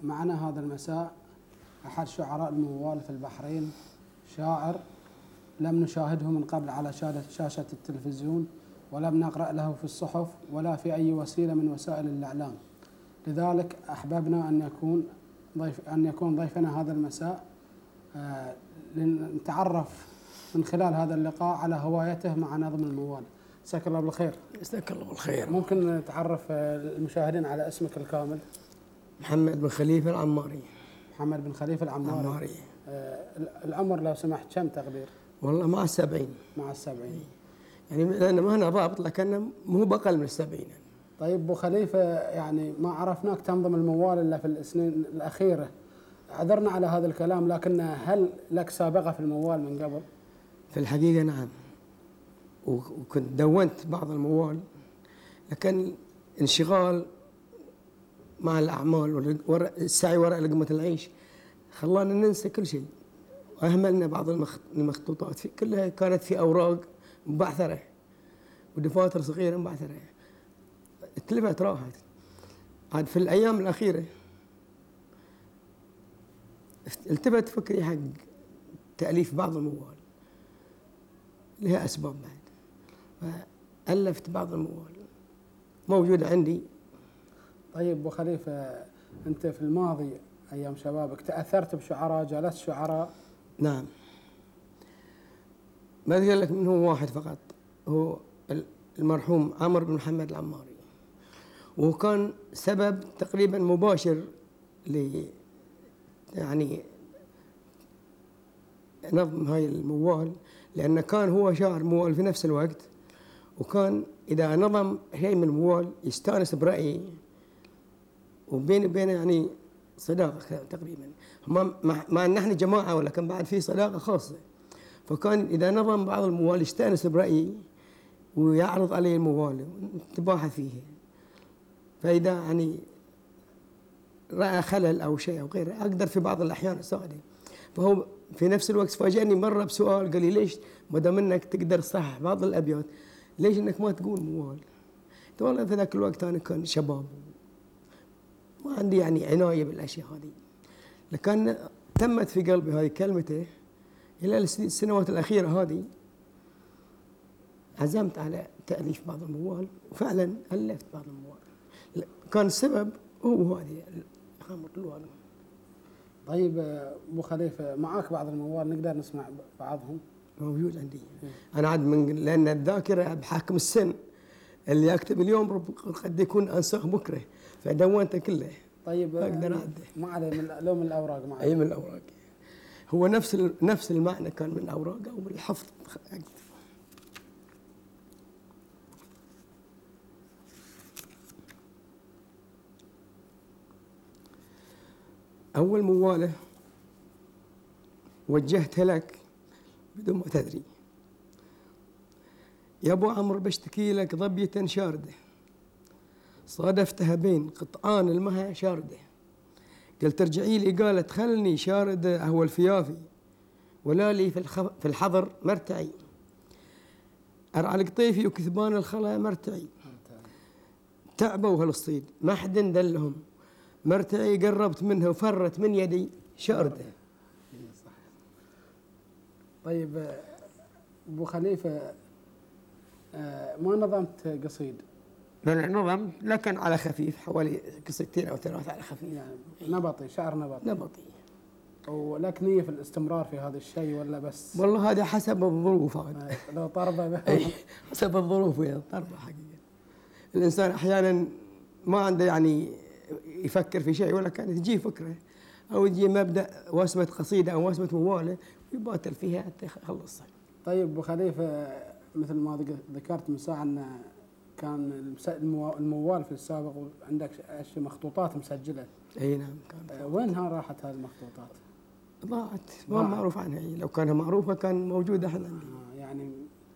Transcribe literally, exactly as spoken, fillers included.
معنا هذا المساء أحد شعراء الموال في البحرين، شاعر لم نشاهده من قبل على شاشة التلفزيون، ولم نقرأ له في الصحف ولا في أي وسيلة من وسائل الإعلام. لذلك أحببنا أن يكون ضيف أن يكون ضيفنا هذا المساء آه لنتعرف من خلال هذا اللقاء على هوايته مع نظم الموال. مساك الله بالخير. مساك الله بالخير. ممكن نتعرف المشاهدين على اسمك الكامل؟ محمد بن خليفة العماري. محمد بن خليفة العماري. العماري. آه العمر لو سمحت كم تقدير؟ والله مع السبعين. مع السبعين. يعني لأن ما هنا ضابط، لكن مو بقل من السبعين. طيب أبو خليفة، يعني ما عرفناك تنظم الموال إلا في السنين الأخيرة، عذرنا على هذا الكلام، لكن هل لك سابقة في الموال من قبل؟ في الحقيقة نعم، وكنت دونت بعض الموال، لكن انشغال مع الأعمال والسعي وراء لقمة العيش خلانا ننسى كل شيء، وأهملنا بعض المخطوطات في كلها كانت في أوراق مبعثرة ودفاتر صغيرة مبعثرة، اتلفت راحت. عاد في الأيام الأخيرة التفت فكري حق تأليف بعض الموال، لها أسباب بعد، فألفت بعض الموال موجودة عندي. طيب أبو خليفة، أنت في الماضي أيام شبابك تأثرت بشعراء، جالست شعراء؟ نعم، ما أذكر لك منه واحد فقط، هو المرحوم عمرو بن محمد العماري، وهو كان سبب تقريبا مباشر ل يعني نظم هاي الموال، لأنه كان هو شاعر موال في نفس الوقت، وكان إذا نظم شيء من الموال يستانس برأيي، وبيني وبينه يعني صداقة تقريبا، مع أن نحن جماعة ولكن بعد في صداقة خاصة. فكان إذا نظم بعض الموال يستانس برأيي ويعرض علي الموال ونتباحث فيه، فإذا يعني رأى خلل أو شيء أو غيره أقدر في بعض الأحيان أساعده. فهو في نفس الوقت فاجأني مرة بسؤال، قال لي ليش ما دام انك تقدر تصحح بعض الأبيات ليش انك ما تقول موال؟ قلت والله في ذاك الوقت أنا كان شباب ما عندي يعني عناية بالأشياء هذه، لكن تمت في قلبي هذه كلمته. إلى السنوات الأخيرة هذه عزمت على تأليف بعض الموال، وفعلا ألفت بعض الموال. كان السبب هو هذه خامة الوالد. طيب أبو خليفة، معاك بعض الموال نقدر نسمع بعضهم؟ موجود عندي. م. أنا عاد من لأن الذاكرة بحكم السن، اللي أكتب اليوم قد يكون أنساه بكرة، فدونته كله. طيب أقدر أعده. ما عليه، من لو من الأوراق معي. أي من الأوراق، هو نفس نفس المعنى كان من الأوراق أو من الحفظ. أول موالة وجهتها لك بدون ما تدري: يا أبو عمرو بشتكي لك ظبية شاردة، صادفتها بين قطعان المها شاردة، قلت ارجعي لي قالت خلني شاردة أهو الفيافي، ولا لي في, في الحضر مرتعي، أرعى القطيفي وكثبان الخلا مرتعي، تعبوا هالصيد ما حد دلهم، مرتعي قربت منها وفرت من يدي شاردة. طيب أبو خليفة، ما نظمت قصيد؟ لا نظمت لكن على خفيف، حوالي قصيدتين أو ثلاثة على خفيف، يعني نبطي، شعر نبطي. نبطي. ولك نية في الاستمرار في هذا الشيء ولا بس؟ والله هذا حسب الظروف، هذا لو طربة حسب الظروف ويا طربة حقيقة. الإنسان أحيانا ما عنده يعني يفكر في شيء، ولا كانت تجي فكرة أو تجي مبدأ واسمة قصيدة أو واسمة موالة ويباتر فيها حتى يخلصها. طيب أبو خليفة، مثل ما ذكرت من ساعة أن كان الموال في السابق وعندك مخطوطات مسجلة. أي نعم كانت. وينها راحت هذه المخطوطات؟ ضاعت، ما معروف عنها. لو كانت معروفة كان موجودة احنا عندي. آه يعني